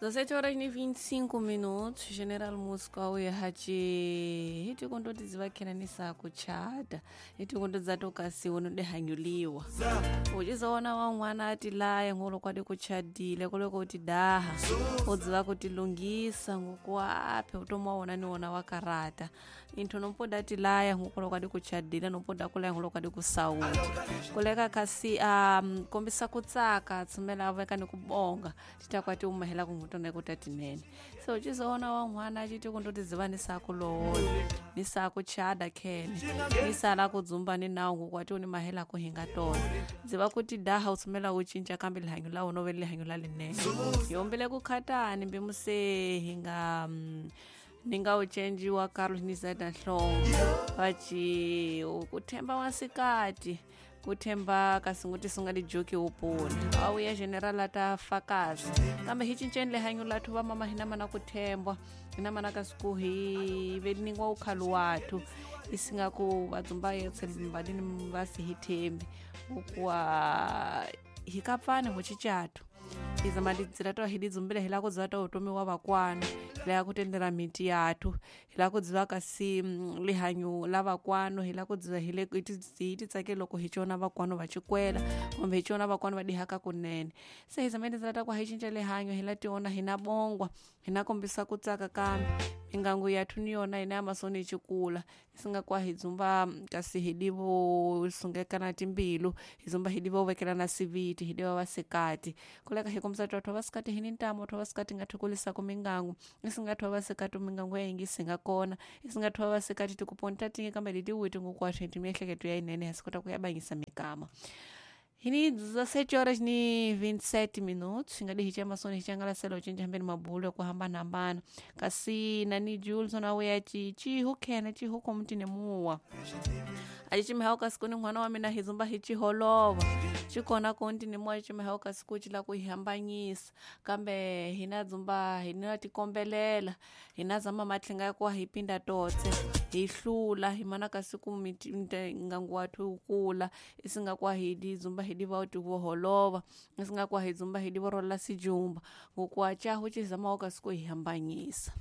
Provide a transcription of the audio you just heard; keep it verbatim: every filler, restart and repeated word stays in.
dezessete horas e vinte e cinco minutos, General Músico auya hachi hiti kundoti zivakhela kuchata hiti kundoti zatokasiwa nodehanyuliwa uchizoona wamwana ati laya ngolo kwadi kuchadile koleko kuti daha udziva kuti lungisa ngokuaphe utomaona niwona wakarata inthu nompoda ati laya ngokolo kwadi kuchadile nompoda kulaya ngolo kwadi kusauti kuleka kasi um kombisa kutsaka tsumela aveka nikubonga titakwati umahela kungutona kutatinene so uchizoona wamwana achiti kundoti ziva nisakulowola nisakuchada khene nisala kudzumba ni nawu ngokwati uni mahela kuhinga tona dziva kuti daha utsumela ucinca kambe lihanyo la wona ove lihanyo la linene yombele kukhatani mbimuse hinga mm, ninga ucenjiwa Carlos Nizada Nhlongo vaci kuthemba wasikati kuthemba kasi singa lijoki upuna auya general ata fakazi kambe hi cinceni lihanyo lathu va mama hina mana kuthembwa hina mana kasi ku hi veningwa ukhalu wathu isinga ku vadzumba yetshembadini va si hi thembi ukuwa hi kapfani ho cicathu izama tindzila to hi tidzumbile hi lava ku dziva ta vutomi wa vakwana hi lava ku tendela miti yathu hi lava ku dziva kasi lihanyo la vakwano hi lava ku dziva hi le hi ti tsakeli loko hi cona vakwano va cikwela kumbe hi cona vakwano va dihaka kunene se hi zama tindzila ta ku hi cinca lihanyo hi la tiona hi na bongwa hi na kombisa ku tsaka kambe mingangu yathu ni yona hina ya masoni hi cikula isinga kwa hi dzumba kasi hi divo sungekana timbilu hi dzumba hi divo vekelana siviti hi diva vasikati kuleka hi kombisa twa vasikati hi ni ntamu twa vasikati nga thukulisaka mingangu isinga thwa vasikati mingangu ya yingisi nga kona isinga thwa vasikati tikuponta tingi kambe litiwiti ngokwathu hi miehleketo ya yinene ha si kota ku ya bangisa mikama hini dezessete horas ni vinte e sete minutos ngadi hi chamasoni hi changalasela ucinca hambeni mabulo ya ku hambanahambana kasi nani Julson auya ci cihu khene cihu komutine muwa aci kasi kuni n'wana wa mina hi dzumba hi ciholova cikona kontine muwa cimihau kasi ku ci la ku hi hambanyisa kambe hina dzumba hina tikombelela hina zama matlhinga ya kuwa hi pinda totse hi hlula hi mana kasi ku ngangu wathu wu kula isinga kwa hi di dzumba hi diva ti vo holova isinga kwa hi dzumba hi divo rola sijumba ngokuwa chahu ci zamawo kasi ku hi hambanyisa.